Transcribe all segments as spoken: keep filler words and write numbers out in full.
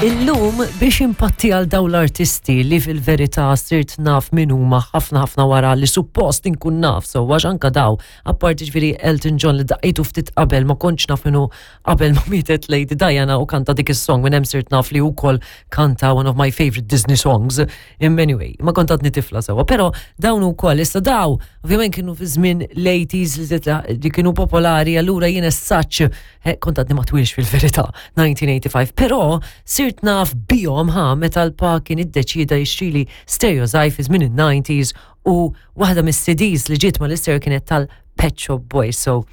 Illum biex impatti għal daw l-artisti li fil-verità sirt naf min huma ħafna ħafna wara li suppost inkun naf, so għax anka daw, apparti ġifieri Elton John li daqqejtu ftit qabel ma kontx naf minnu qabel ma mietet Lady Diana u kanta dik is-song minn hemm sirt naf li wkoll kanta one of my favorite Disney songs. In anyway, ma kont għadni tifla sewwa, però dawn ukoll issa daw ovvjament kienu fi żmien l-eighties li li kienu popolari, allura jien as such eh, kont għadni ma twilx fil-verità elf disa' mija u tmienja u disgħin, però sirt naf bihom ħa meta l-pa kien iddeċida jixtrili stereo żgħir fi żmien il-nineties u waħda mis-C Ds li ġiet mal-istereo kienet tal-Pet Shop Boys. So,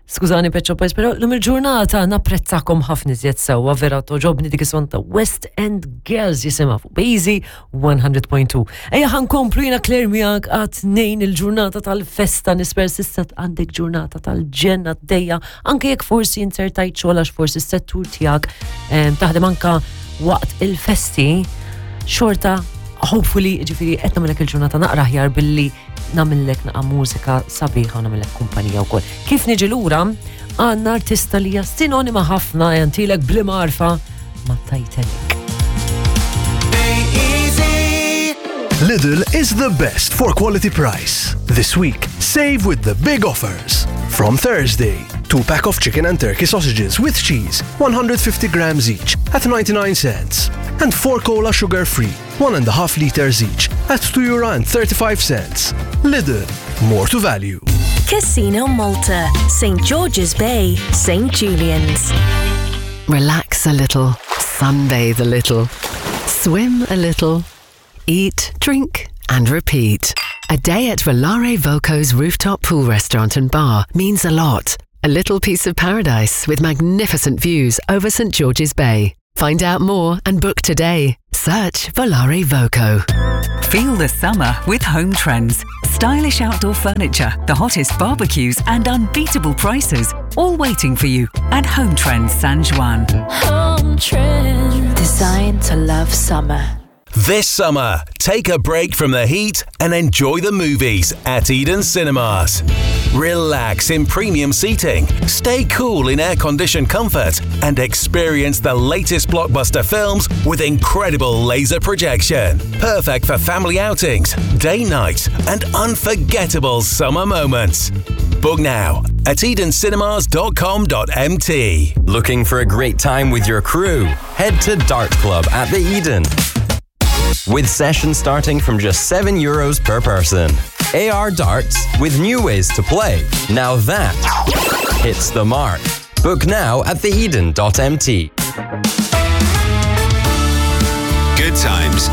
skużani, Pet Shop Boys, però llum il-ġurnata napprezzakom ħafna iżjed sewwa, vera togħġobni dik is-song ta' West End Girls jisimha fuq Bazy mija punt tnejn. Ejja ħa nkomplu, jiena Claire miegħek għat nejn il-ġurnata tal-festa, nispera s'issa għandek ġurnata tal-ġenna d-dejja, anke jekk forsi inzertajt xogħol għax forsi s-settur tiegħek em, taħdem anka waqt il-festi, xorta hopefully ġifieri qed nagħmellek il-ġurnata naqra aħjar billi nagħmellek naqa' mużika sabiħa u nagħmellek kumpanija wkoll. Kif niġi lura għandna artista li hija sinonima ħafna jantilek bl-marfa ma' Titanic. Lidl is the best for quality price. This week, save with the big offers. From Thursday, two pack of chicken and turkey sausages with cheese, one hundred fifty grams each, at ninety-nine cents. And four cola sugar free, one and a half liters each, at two euro and thirty-five cents. Lidl, more to value. Casino Malta, Saint George's Bay, Saint Julian's. Relax a little, sunbathe a little, swim a little, eat, drink, and repeat. A day at Volare Voco's rooftop pool restaurant and bar means a lot. A little piece of paradise with magnificent views over Saint George's Bay. Find out more and book today. Search Volare Voco. Feel the summer with Home Trends. Stylish outdoor furniture, the hottest barbecues, and unbeatable prices. All waiting for you at Home Trends San Juan. Home Trends. Designed to love summer. This summer, take a break from the heat and enjoy the movies at Eden Cinemas. Relax in premium seating, stay cool in air conditioned comfort, and experience the latest blockbuster films with incredible laser projection. Perfect for family outings, day nights, and unforgettable summer moments. Book now at edencinemas dot com dot M T. Looking for a great time with your crew? Head to Dart Club at the Eden. With sessions starting from just seven euros per person. A R darts with new ways to play. Now that hits the mark. Book now at theeden dot M T. Good times.